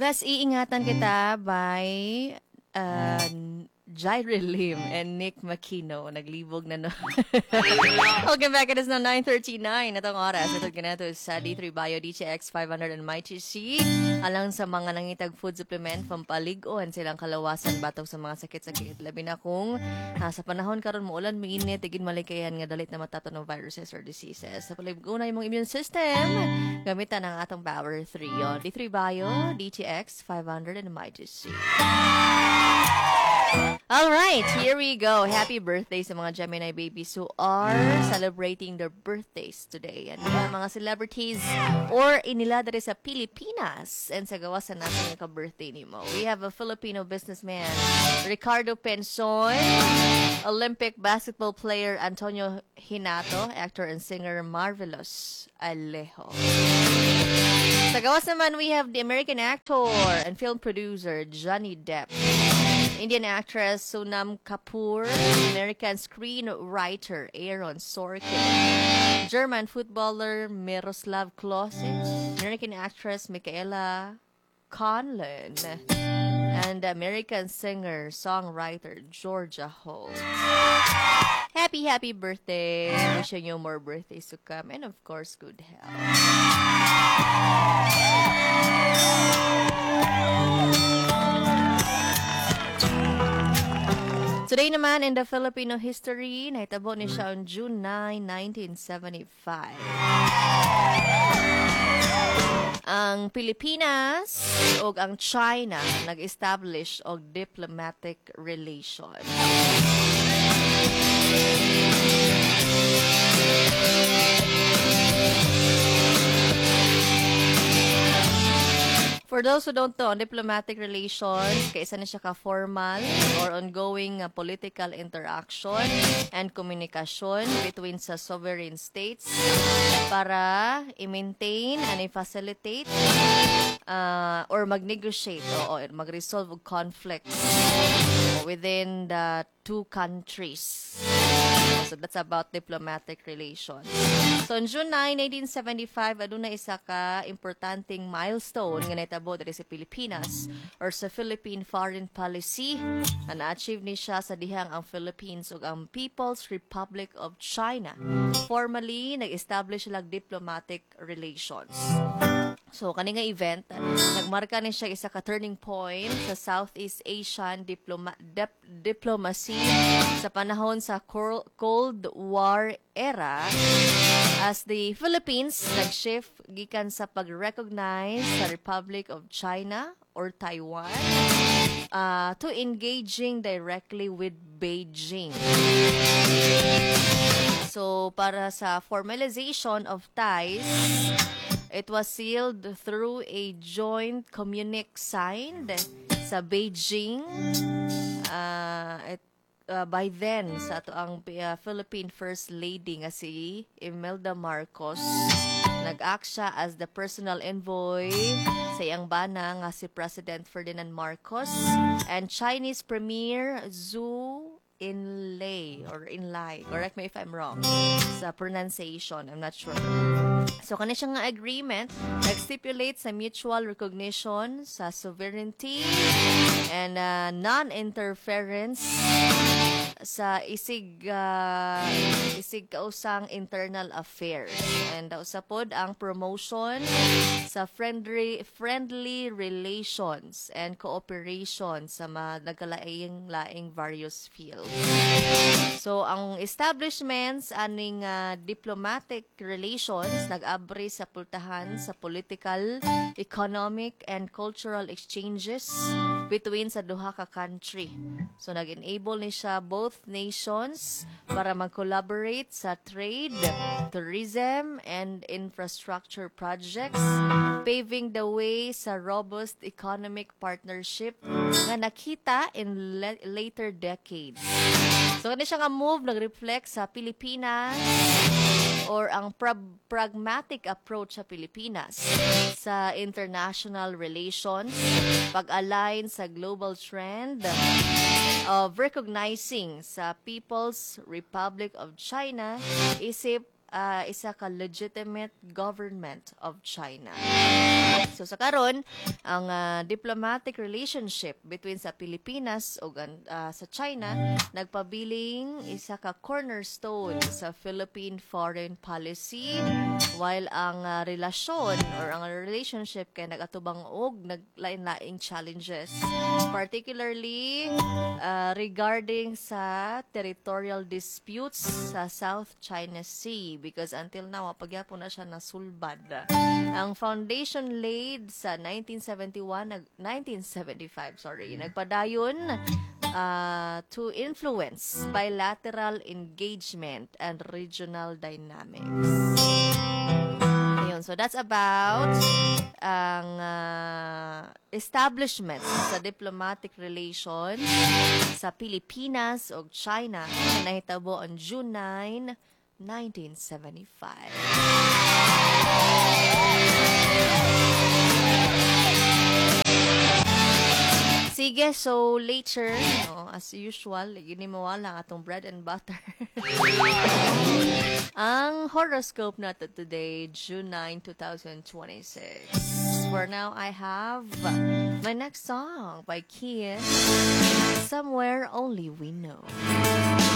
Thus, iingatan kita by Jairi Lim and Nick Makino. Naglibog na, no. Welcome back. It is now 9:39 atong oras. Ito ganato sa D3 Bio, DTX 500 and Mighty C. Alang sa mga nangitag food supplement, pampalig-on silang kalawasan batok sa mga sakit-sakit. Labi na kung sa panahon karon muulan, mainit, tigin malikayan nga dalit na matato ng viruses or diseases. Sa palig-on na imong immune system, gamitan ang atong Power 3. Yon. D3 Bio, DTX 500 and Mighty C. All right, here we go. Happy birthday sa mga Gemini babies who are celebrating their birthdays today. And mga celebrities or inila diri sa Pilipinas and sa gawas sa natin nga ka-birthday nimo. We have a Filipino businessman, Ricardo Penson, Olympic basketball player Antonio Hinato, actor and singer Marvelous Alejo. Sa gawas naman, we have the American actor and film producer Johnny Depp, Indian actress Sonam Kapoor, American screenwriter Aaron Sorkin, German footballer Miroslav Klose, American actress Michaela Conlin, and American singer-songwriter Georgia Holt. Happy, happy birthday. Wishing you more birthdays to come and, of course, good health. Today naman in the Filipino history, nahitabo ni siya on June 9, 1975. Ang Pilipinas ug ang China nag-establish og diplomatic relation. For those who don't know, ang diplomatic relations, kaysa na siya ka-formal or ongoing political interaction and communication between sa sovereign states para i-maintain and i-facilitate or mag-negotiate o mag-resolve og conflicts within the two countries. So that's about diplomatic relations. So on June 9, 1975, aduna isa ka importanteng milestone nga nahitabo diri sa Pilipinas or sa Philippine foreign policy na na-achieve ni siya sa dihang ang Philippines ug ang People's Republic of China formally nag-establish sila diplomatic relations. So kani nga event nagmarka ni siya isa ka turning point sa Southeast Asian diplomacy sa panahon sa Cold War era as the Philippines nag-shift gikan sa pag-recognize sa Republic of China or Taiwan to engaging directly with Beijing. So para sa formalization of ties, it was sealed through a joint communique signed sa Beijing by then sa ato ang Philippine First Lady nga si Imelda Marcos. Nag-act siya as the personal envoy sa iyang bana nga si President Ferdinand Marcos and Chinese Premier Zhou Enlai or Enlai. Correct me if I'm wrong sa pronunciation. I'm not sure. So, kani siya nga agreement nag-stipulate sa mutual recognition sa sovereignty and non-interference sa isig kausang internal affairs and usa pod ang promotion sa friendly relations and cooperation sa mga nagkalaing laing various fields. So ang establishments aning diplomatic relations nag-abri sa pultahan sa political, economic and cultural exchanges between sa duha ka country. So nag-enable ni siya both nations para mag-collaborate sa trade, tourism and infrastructure projects, paving the way sa robust economic partnership nga nakita in later decades. So kani siya nga move nag-reflect sa Pilipinas or ang pragmatic approach sa Pilipinas sa international relations, pag-align sa global trend of recognizing sa People's Republic of China isip isa ka legitimate government of China. So So sa karon, ang diplomatic relationship between sa Pilipinas ug sa China nagpabiling isa ka cornerstone sa Philippine foreign policy, while ang relasyon or ang relationship kay nagatubang og naglain-laing challenges, particularly regarding sa territorial disputes sa South China Sea, because until now wa pa gyapon na siya nasulbad. Ang foundation laid sa 1971 nag 1975, sorry, nagpadayon to influence bilateral engagement and regional dynamics. Ayun, so that's about ang establishment sa diplomatic relations sa Pilipinas ug China na nahitabo on June 9, 1975. Sige, so later, no, as usual, gini mawala ang atong bread and butter, ang horoscope nato today, June 9, 2026. For now, I have my next song by Kian, "Somewhere Only We Know."